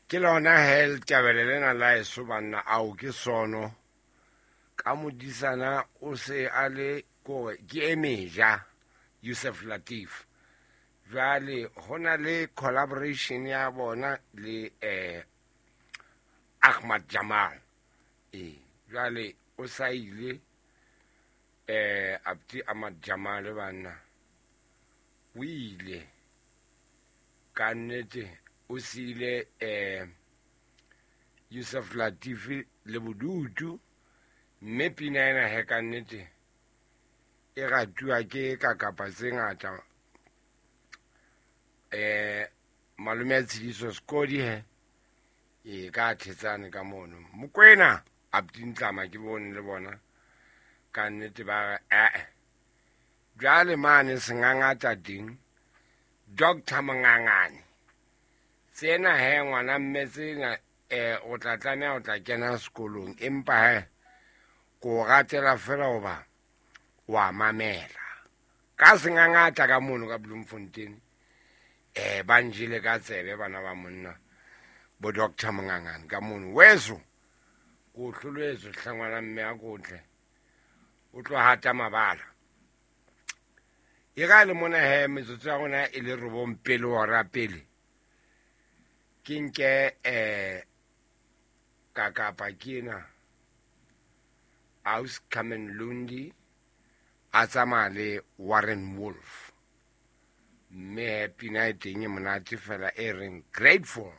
Ke lona he letabele lena la eso banna ao ke sono ka modisana o se a le kore ke e meja Yusuf Latif. Jwale ho na le collaboration ya bona le Ahmad Jamal. Ee, jwale o sa ile Abdi Ahmad Jamal banna o ile ka nnete o siile Yusuf Latif le bodutu mme pina ena he ka nnete e ratuwa ke ka kapa tse ngata. Malome a Tshidiso Sekodi he e ka thetsane ka mono Mokwena Abdi Ntlama ke bone le bona ka nnete ba re jwale mane sengangata teng Dr. Mongangane tsena he ngwana mme tsena o tla tlameha o tla kena sekolong empa he ko ratela fela hoba wa mamela ka sengangata ka mono ka Bloemfontein. Ba njele ka tsebe bana ba monna bo Dr. Mongangane ka mono weso ko hloletswe hlangwana mme a kotle o tlo hata mabala. E ga le mona he metsotso ya rona e le 9 pele hora pele ke nke ka kapa ke ena Aus Carmen Lundi a tsamaya le Warren Wolf mme pina e teng e monate fela e reng Grateful.